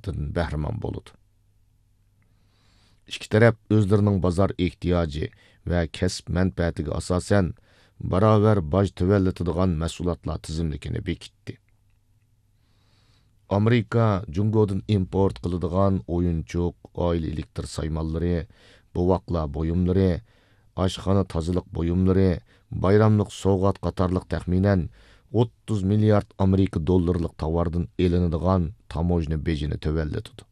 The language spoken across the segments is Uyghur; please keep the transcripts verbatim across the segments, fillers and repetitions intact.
مەھسۇلاتلىرىدىن بەھرىمەن بولىدۇ. ئىككى تەرەپ ئۆزلىرىنىڭ بازار ئېھتىياجى ۋە كەسىپ مەنپەئەتىگە ئاساسەن، باراۋەر باج تۆۋەنلىتىدىغان مەھسۇلاتلار تىزىملىكىنى بېكىتتى. ئامېرىكا جۇڭگودىن ئىمپورت قىلىدىغان ئويۇنچۇق، ئائىلە ئېلېكتر سايمانلىرى، بوۋاقلار بۇيۇملىرى، ئاشخانا تازىلىق بۇيۇملىرى، بايراملىق سوۋغات قاتارلىق تەخمىنەن ئوتتۇز مىليارد ئامېرىكا دوللىرىلىق تاۋاردىن ئېلىنىدىغان تاموژنا بېجىنى تۆۋەنلىتىدۇ.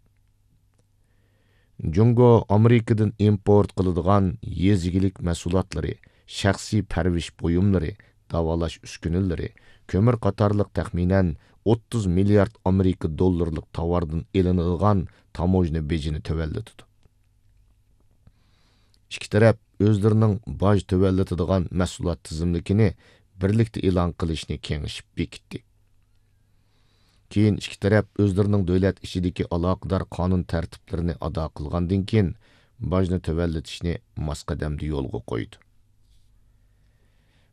جۇڭگو ئامېرىكىدىن ئىمپورت قىلىدىغان يېزا ئىگىلىك مەھسۇلاتلىرى، شەخسىي پەرۋىش بۇيۇملىرى، داۋالاش ئۈسكۈنىلىرى، كۆمۈر قاتارلىق تەخمىنەن ئوتتۇز مىليارد ئامېرىكا دوللىرىلىق تاۋاردىن ئېلىنىدىغان تاموژنا بېجىنى تۆۋەنلىتىدۇ. ئىككى تەرەپ ئۆزلىرىنىڭ باج تۆۋەنلىتىدىغان مەھسۇلات تىزىملىكىنى بىرلىكتە ئېلان قىلىشنى كېڭىشىپ بېكىتتى. كېيىن ئىككى تەرەپ ئۆزلىرىنىڭ دۆلەت ئىچىدىكى ئالاقىدار قانۇن تەرتىپلىرىنى ئادا قىلغاندىن كېيىن، باجنى تۆۋەنلىتىشنى ماس قەدەمدە يولغا قويدى.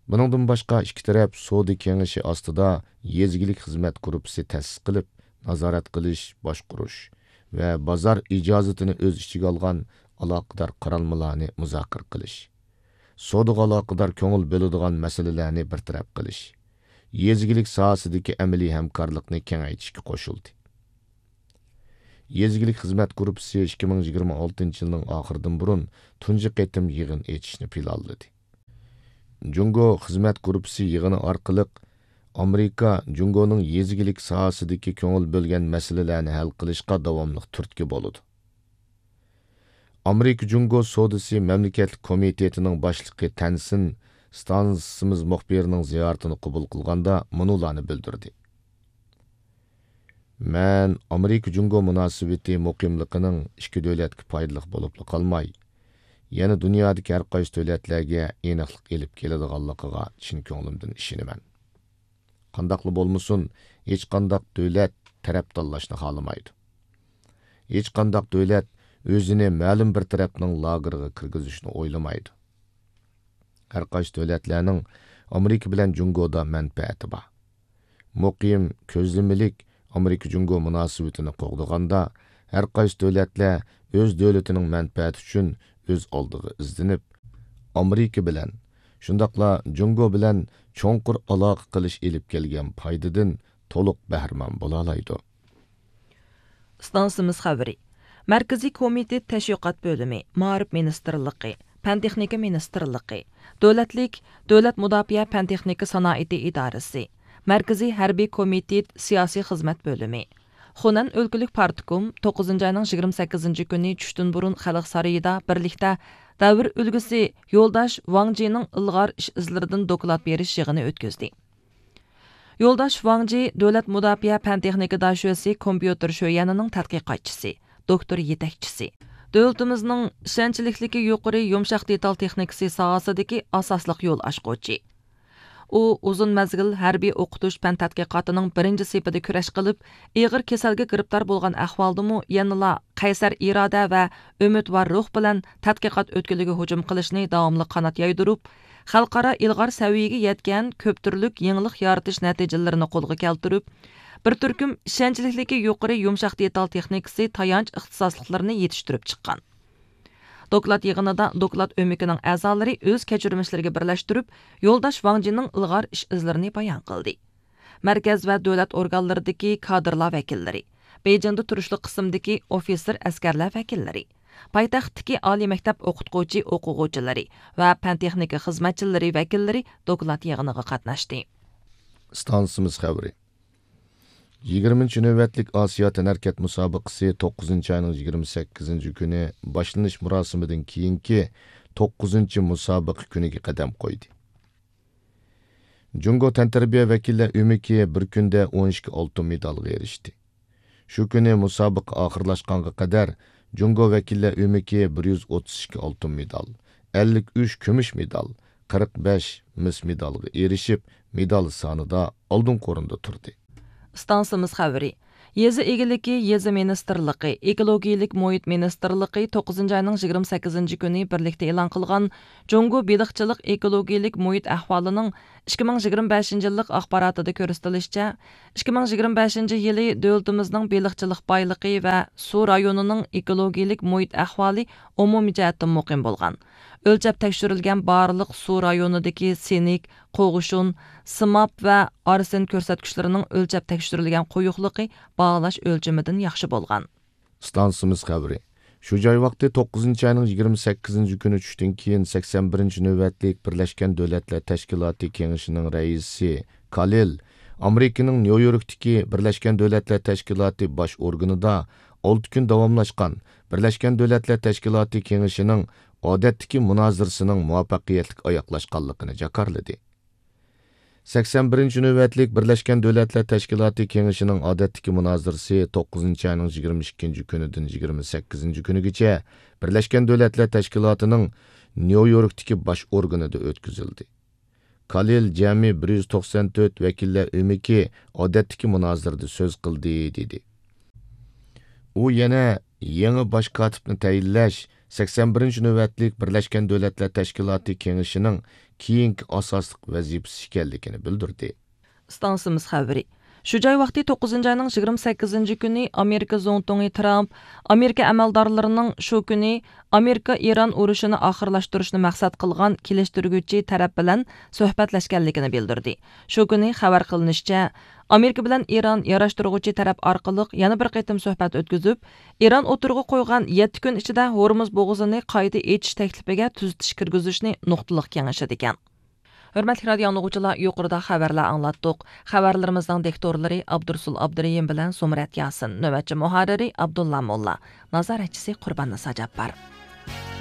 بۇنىڭدىن باشقا، ئىككى تەرەپ سودا كېڭىشى ئاستىدا يېزا ئىگىلىك خىزمەت گۇرۇپپىسى تەسىس قىلىپ، نازارەت قىلىش، باشقۇرۇش ۋە بازار ئىجازىتىنى ئۆز ئىچىگە ئالغان ئالاقىدار قارالمىلارنى مۇزاكىرە قىلىش، سودىغا ئالاقىدار كۆڭۈل بۆلىدىغان مەسىلىلەرنى بىر تەرەپ قىلىش، يېزا ئىگىلىك ساھەسىدىكى ئەمەلىي ھەمكارلىقنى كېڭەيتىشكە قوشۇلدى. يېزا ئىگىلىك خىزمەت گۇرۇپپىسى ئىككى مىڭ يىگىرمە ئالتىنچى يىلنىڭ ئاخىرىدىن بۇرۇن تۇنجى قېتىم يىغىن ئېچىشنى پىلانلىدى. جۇڭگو خىزمەت گۇرۇپپىسى يىغىنى ئارقىلىق ئامېرىكا جۇڭگونىڭ يېزا ئىگىلىك ساھەسىدىكى كۆڭۈل بۆلگەن مەسىلىلەرنى ھەل قىلىشقا داۋاملىق تۈرتكە بولىدۇ. ئامېرىكا جۇڭگو سودىسى مەملىكەتلىك كومىتېتىنىڭ باشلىقى تەنسىن ئىستانسىمىز مۇخبىرىنىڭ زىيارىتىنى قوبۇل قىلغاندا مۇنۇلارنى بىلدۈردى. مەن ئامېرىكا جۇڭگو مۇناسىۋىتى مۇقىملىقىنىڭ ئىككى دۆلەتكە پايدىلىق بولۇپلا قالماي، يەنە دۇنيادىكى ھەر قايسى دۆلەتلەرگە ئېنىقلىق ئېلىپ كېلىدىغانلىقىغا چىن كۆڭلۈمدىن ئىشىنىمەن. قانداقلا بولمىسۇن، ھېچقانداق دۆلەت تەرەپ تاللاشنى خالىمايدۇ. ھېچقانداق دۆلەت ئۆزىنى مەلۇم بىر تەرەپنىڭ لاگېرىغا كىرگۈزۈشنى ئويلىمايدۇ. ھەر قايسى دۆلەتلەرنىڭ ئامېرىكا بىلەن جۇڭگودا مەنپەئەتى بار. مۇقىم، كۆزلىمىلىك ئامېرىكا جۇڭگو مۇناسىۋىتىنى قوغدىغاندا، ھەر قايسى دۆلەتلەر ئۆز دۆلىتىنىڭ مەنپەئەتى ئۈچۈن ئۆز ئالدىغا ئىزدىنىپ، ئامېرىكا بىلەن، شۇنداقلا جۇڭگو بىلەن چوڭقۇر ئالاقە قىلىش ئېلىپ كەلگەن پايدىدىن تولۇق بەھرىمەن بولالايدۇ. ئىستانسىمىز خەۋىرى. مەركىزىي كومىتېت تەشۋىقات بۆلۈمى، مائارىپ مىنىستىرلىقى، پەن تېخنىكا مىنىستىرلىقى، دۆلەتلىك دۆلەت مۇداپىئە پەن تېخنىكا سانائىتى ئىدارىسى، مەركىزىي ھەربىي كومىتېت سىياسىي خىزمەت بۆلۈمى، خۇنەن ئۆلكىلىك پارتكوم توققۇزىنچى ئاينىڭ يىگىرمە سەككىزىنچى كۈنى چۈشتىن بۇرۇن خەلق سارىيىدا بىرلىكتە دەۋر ئۈلگىسى يولداش ۋاڭ جىنىڭ ئىلغار ئىش ئىزلىرىدىن دوكلات بېرىش يىغىنى ئۆتكۈزدى. يولداش ۋاڭ جى دۆلەت مۇداپىئە پەن تېخنىكا داشۆسى كومپيۇتېر شۆيەنىنىڭ تەتقىقاتچىسى، دوكتور يېتەكچىسى. دۆلىتىمىزنىڭ ئىشەنچلىكلىكى يۇقىرى يۇمشاق دېتال تېخنىكىسى ساھەسىدىكى ئاساسلىق يول ئاچقۇچى. ئۇ ئۇزۇن مەزگىل ھەربىي ئوقۇتۇش پەن تەتقىقاتىنىڭ بىرىنچى سېپىدە كۈرەش قىلىپ، ئېغىر كېسەلگە گىرىپتار بولغان ئەھۋالدىمۇ يەنىلا قەيسەر ئىرادە ۋە ئۈمىدۋار روھ بىلەن تەتقىقات ئۆتكىلىگە ھۇجۇم قىلىشنى داۋاملىق قانات يايدۇرۇپ، خەلقئارا ئىلغار سەۋىيەگە يەتكەن كۆپ تۈرلۈك يېڭىلىق يارىتىش نەتىجىلىرىنى قولغا كەلتۈرۈپ، بىر تۈركۈم ئىشەنچلىكلىكى يۇقىرى يۇمشاق دېتال تېخنىكىسى تايانچ ئىختىساسلىقلىرىنى يېتىشتۈرۈپ چىققان. دوكلات يىغىنىدا دوكلات ئۆمىكىنىڭ ئەزالىرى ئۆز كەچۈرمىشلىرىگە بىرلەشتۈرۈپ، يولداش ۋاڭ جىنىڭ ئىلغار ئىش ئىزلىرىنى بايان قىلدى. مەركەز ۋە دۆلەت ئورگانلىرىدىكى كادىرلار ۋەكىللىرى، بېيجىڭدا تۇرۇشلۇق قىسىمدىكى ئوفىتسېر ئەسكەرلەر ۋەكىللىرى، پايتەختتىكى ئالىي مەكتەپ ئوقۇتقۇچى ئوقۇغۇچىلىرى ۋە پەن تېخنىكا خىزمەتچىلىرى ۋەكىللىرى دوكلات يىغىنىغا قاتناشتى. ئىستانسىمىز خەۋىرى. يىگىرمىنچى نۆۋەتلىك ئاسىيا تەنھەرىكەت مۇسابىقىسى توققۇزىنچى ئاينىڭ يىگىرمە سەككىزىنچى كۈنى باشلىنىش مۇراسىمىدىن كېيىنكى توققۇزىنچى مۇسابىقە كۈنىگە قەدەم قويدى. جۇڭگو تەنتەربىيە ۋەكىللەر ئۆمىكى بىر كۈندە ئون ئىككى ئالتۇن مېدالغا ئېرىشتى. شۇ كۈنى مۇسابىقە ئاخىرلاشقانغا قەدەر جۇڭگو ۋەكىللەر ئۆمىكى بىر يۈز ئوتتۇز ئىككى ئالتۇن مېدال، ئەللىك ئۈچ كۈمۈش مېدال، قىرىق بەش مىس مېدالغا ئېرىشىپ، مېدال سانىدا ئالدىنقى ئورۇندا تۇردى. ئىستانسىمىز خەۋىرى. يېزا ئىگىلىكى، يېزا مىنىستىرلىقى، ئېكولوگىيىلىك مۇھىت مىنىستىرلىقى توققۇزىنچى ئاينىڭ يىگىرمە سەككىزىنچى كۈنى بىرلىكتە ئېلان قىلغان جۇڭگو بېلىقچىلىق ئېكولوگىيىلىك مۇھىت ئەھۋالىنىڭ ئىككى مىڭ يىگىرمە بەشىنچى يىللىق ئاخباراتىدا كۆرسىتىلىشىچە، ئىككى مىڭ يىگىرمە بەشىنچى يىلى دۆلىتىمىزنىڭ بېلىقچىلىق بايلىقى ۋە سۇ رايونىنىڭ ئېكولوگىيىلىك مۇھىت ئەھۋالى ئومۇمىي جەھەتتىن مۇقىم بولغان. ئۆلچەپ تەكشۈرۈلگەن بارلىق سۇ رايونىدىكى سىنك، قوغۇشۇن، سىماب ۋە ئارسېن كۆرسەتكۈچلىرىنىڭ ئۆلچەپ تەكشۈرۈلگەن قويۇقلۇقى باھالاش ئۆلچىمىدىن ياخشى بولغان. ئىستانسىمىز خەۋىرى. شۇ جاي ۋاقتى توققۇزىنچى ئاينىڭ يىگىرمە سەككىزىنچى كۈنى چۈشتىن كېيىن سەكسەن بىرىنچى نۆۋەتلىك بىرلەشكەن دۆلەتلەر تەشكىلاتى كېڭىشىنىڭ رەئىسى كالىل ئامېرىكىنىڭ نيۇ يوركتىكى بىرلەشكەن دۆلەتلەر تەشكىلاتى باش ئورگىنىدا ئالتە كۈن داۋاملاشقان بىرلەشكەن دۆلەتلەر تەشكىلاتى كېڭىشىنىڭ ئادەتتىكى مۇنازىرىسىنىڭ مۇۋەپپەقىيەتلىك ئاياغلاشقانلىقىنى جاكارلىدى. سەكسەن بىرىنچى نۆۋەتلىك بىرلەشكەن دۆلەتلەر تەشكىلاتى كېڭىشىنىڭ ئادەتتىكى مۇنازىرىسى توققۇزىنچى ئاينىڭ يىگىرمە ئىككىنچى كۈنىدىن يىگىرمە سەككىزىنچى كۈنىگىچە بىرلەشكەن دۆلەتلەر تەشكىلاتىنىڭ نيۇ يوركتىكى باش ئورگىنىدا ئۆتكۈزۈلدى. كالىل جەمئىي بىر يۈز توقسان تۆت ۋەكىللەر ئۆمىكى ئادەتتىكى مۇنازىرىدە سۆز قىلدى، دېدى. ئۇ يەنە يېڭى باش كاتىپنى تەيىنلەش، سەكسەن بىرىنچى نۆۋەتلىك بىرلەشكەن دۆلەتلەر تەشكىلاتى كېڭىشىنىڭ كېيىنكى ئاساسلىق ۋەزىپىسى ئىكەنلىكىنى بىلدۈردى. ئىستانسىمىز خەۋىرى. شۇ جاي ۋاقتى توققۇزىنچى ئاينىڭ يىگىرمە سەككىزىنچى كۈنى ئامېرىكا زۇڭتۇڭى ترامپ ئامېرىكا ئەمەلدارلىرىنىڭ شۇ كۈنى ئامېرىكا ئىران ئۇرۇشىنى ئاخىرلاشتۇرۇشنى مەقسەت قىلغان كېلىشتۈرگۈچى تەرەپ بىلەن سۆھبەتلەشكەنلىكىنى بىلدۈردى. شۇ كۈنى خەۋەر قىلىنىشىچە، ئامېرىكا بىلەن ئىران ياراشتۇرغۇچى تەرەپ ئارقىلىق يەنە بىر قېتىم سۆھبەت ئۆتكۈزۈپ، ئىران ئوتتۇرىغا قويغان يەتتە كۈن ئىچىدە ھورمۇز بوغۇزىنى قايتا ئېچىش تەكلىپىگە تۈزىتىش كىرگۈزۈشنى نۇقتىلىق كېڭىشىدىكەن. ھۆرمەتلىك رادىئو ئاڭلىغۇچىلار، يۇقىرىدا خەۋەرلەر ئاڭلاتتۇق. خەۋەرلىرىمىزنىڭ دىكتورلىرى ئابدۇرسۇل ئابدۇرېھىم بىلەن زۇمرەت ياسىن، نۆۋەتچى مۇھەررىرى ئابدۇللا موللا، نازارەتچىسى قۇرباننىسا جاپپار.